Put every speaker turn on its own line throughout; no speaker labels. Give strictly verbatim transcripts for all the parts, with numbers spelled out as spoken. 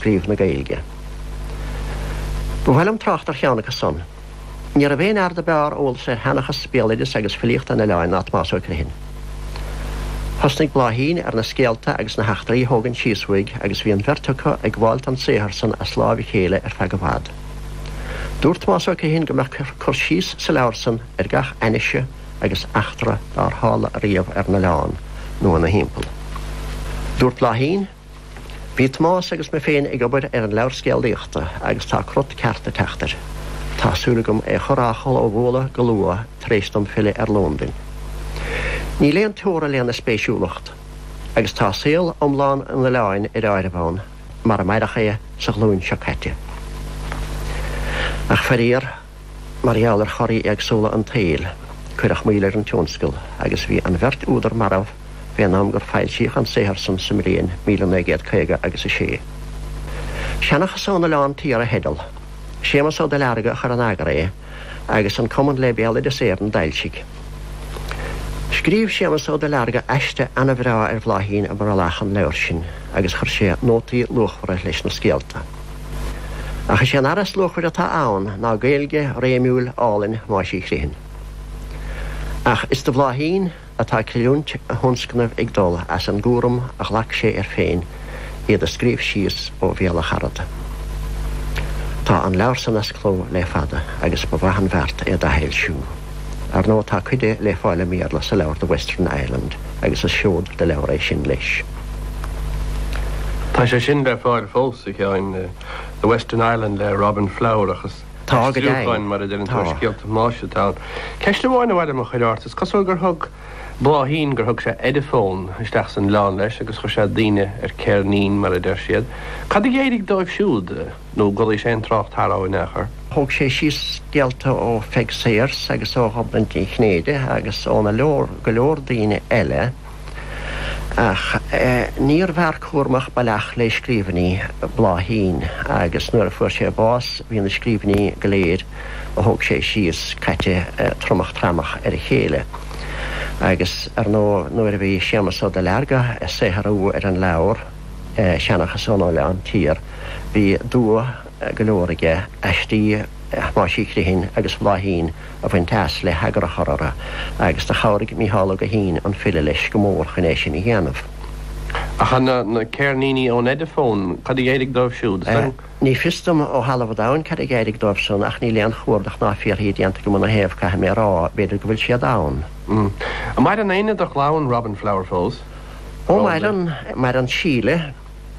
Scríobh na Gaeilge. Ba mhaith liom trácht ar cheann acu san. Ní raibh aon fhear do b'fhearr eolas ar sheanchas, béaloideas agus filíocht an oileáin ná Tomás Ó Criomhthain. Thosnaigh Bláithín ar na scéalta agus na heachtraí a thógaint síos uaidh agus bhí an bheirt acu ag gabháilt an saothar san as láimh a chéile ar feadh i bhfad. Dúirt Tomás Ó Criomhthain go mbeadh cur síos sa leabhar san ar gach ainnise agus eachtra dár tharla ariamh ar an oileán nó ina thimpeall. Dúirt Bláithín, Bhí Tomás agus mé féin ag obair ar an leabhar scéalaíochta agus tá crot ceart ag teacht air. Tá súil agam é a chur á chlóbhualadh go luath tar éis dom filleadh ar Londain. Níl aon teora lena spéisiúlacht agus tá saol iomlán an oileáin ar áireamh ann mar a maireadh é sa ghlúin seo caite. Ach faraor, mar gheall ar chorraí éagsúla an tsaoil, cuireadh moill ar an tionscal agus bhí an bheirt údar marbh fén am gur foilsíodh an saothar san sa mbliain míle naoi gcéad caoga agus a sé. Seanchas ón Oileán Tiar a theideal. Séamus Ó Duilearga a chuir in eagar é agus an Cumann le Béaloideas Éireann a d'fhoilsigh. Scríobh Séamus Ó Duilearga aiste ana-bhreá ar Bhláithín i mbrollach an leabhair sin agus chuir sé nótaí luachmhara leis na scéalta. Ach is é an earra is luachmhaire atá ann ná Gaeilge réimiúil álainn Thomáis Uí Chriomhthain. Ach is do Bhláithín atá creidiúint a thionscnaimh ag dul as an gcúram a ghlac sé air féin iad a scríobh síos ó bhéal a charad. Tá an leabhar san as cló le fada agus ba mhaith an bheart é d'athfhoilsiú. Ar ndóigh tá cuid de le fáil i mBéarla sa leabhar The Western Island agus is seod de leabhar é sin leis.
Tá sé sin le fáil fós, a Sheáin, The Western Island le Robin Flower ach is
Tá, go deimhin.
aistriúcháin mar a deireann tú
Tá.
ar scéalta Thomáis atá ann. Ceist amháin a mhaith liom a chur ort, is cosúil gur thug Bláithín gur thug sé Ediphone isteach san oileán leis agus chuir sé daoine ar ceirnín mar a deir siad. Cad a d'éirigh dóibh siúd nó gcodlaigh sé an trácht thar in aon chor?
Thóg sé síos scéalta ó Pheig Sayers agus ó Ghobnait Ní Chinnéide agus óna leor go leor daoine eile ach níorbh fhear cúramach baileach le scríbhinní Bláithín agus nuair a fuair sé bás bhí na scríbhinní go léir a thóg sé síos caite tromach tramach ar a chéile. Agus ar ndóigh nuair a bhí Séamus Ó Duilearga ag saothrú ar an leabhar Seanchas ón Oileán Tiar bhí dua go leor aige aistí Thomáis Uí Chriomhthain agus Bhláithín a bhaint as le heagar a chur orthu agus do chabhraigh Mícheál Ó Guithín an file leis go mór chun é sin a dhéanamh.
Ach na na ceirníní ón Ediphone, cad a d'éirigh dóibh siúd?
Ní fios dom ó thalamh an domhain cad a d'éirigh dóibh san ach níl aon chuardach ná fiafraí déanta agam ina thaobh caithfidh mé a rá, b'fhéidir go bhfuil siad ann.
An maireann éinne de chlann Robin Flower fós?
Ó maireann, maireann Síle,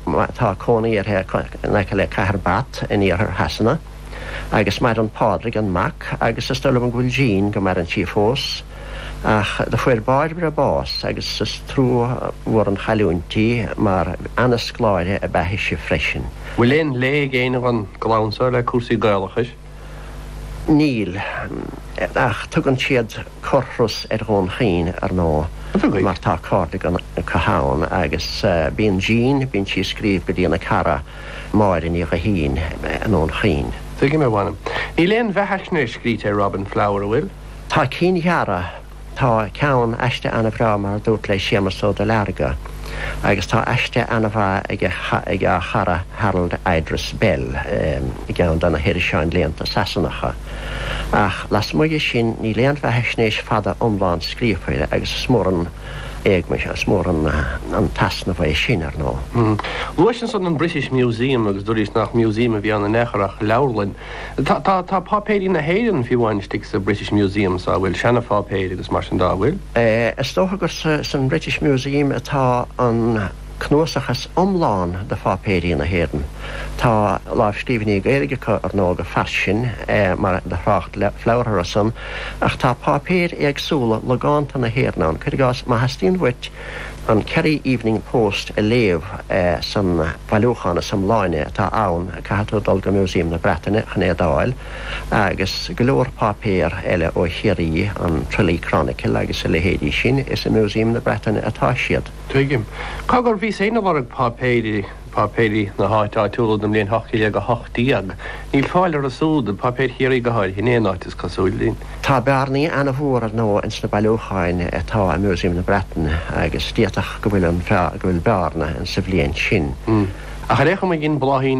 tá cónaí uirthi in aice le cathair Bath in iarthar Shasana, agus maireann Pádraig an mac agus is dóigh liom go bhfuil Jean go maireann sí fós. Ach do fuair Bairbre bás agus is trua mhór an chailliúint í mar ana-scoláire ab ea ise freisin.
Bhfuil aon lé ag éinne den gclann seo le cúrsaí Gaelachais?
Níl, ach tugann siad corrthuras ar Dhún Chaoin, ar ndóigh, mar tá cairde acu ann agus bíonn Jean, bíonn sí ag scríobh go dtína cara Máire Ní Ghuithín i nDún Chaoin.
Tuigim, a mh'anam. Níl aon bheathaisnéis scríte ar Robin Flower, an bhfuil?
Tá cinn ghearra. Tá ceann, aiste ana-bhreá mar a dúrt le Séamus Ó Duilearga agus tá aiste ana-mhaith ag a ag a chara Harold Idris Bell i gceann de na hiriseáin léannta Sasanacha. Ach lasmuigh dhe sin níl aon bheathaisnéis fada iomlán scríofa air agus is mór an éagmais, is mór an an t-easnamh é sin, ar ndóigh.
Luais ansan an British Museum agus dúraís nach museum a bhí ann in aon chor ach leabharlann. Tá tá tá páipéirí na hÉireann fiú amháin istigh sa British Museum sa bhfuil seanapháipéir agus mar sin dá bhfuil?
Is dócha gur sa san British Museum atá an cnuasach is iomlán de pháipéirí na hÉireann. Tá lámhscríbhinní Gaeilge acu ar ndóigh go fairsing mar do thrácht Flower orthu san ach tá páipéir éagsúla logánta na hÉireann ann. Cuir i gcás, má theastaíonn uait an Kerry Evening Post a léamh san bhailiúchán is iomláine atá ann, caithfidh tú dul go Museum na Breataine chun é d'fháil, agus go leor páipéar eile ó Chiarraí, an Tralee Chronicle agus a leithéidí sin, is i Museum na Breataine atá siad.
Tuigim. Cá gur bhíos féin ag lorg páipéirí, páipéirí na háite áitiúla don mbliain ocht déag a hocht déag. Níl fáil orthu súd, páipéir Chiarraí go háirithe, in aon áit is cosúil.
Tá bearnaí ana-mhór ar ndóigh ins na bailiúcháin atá i Museum na Breataine agus d'fhéadfadh go bhfuil an go bhfuil bearna insa bhliain sin.
Ach ar aon chuma dhein Bláithín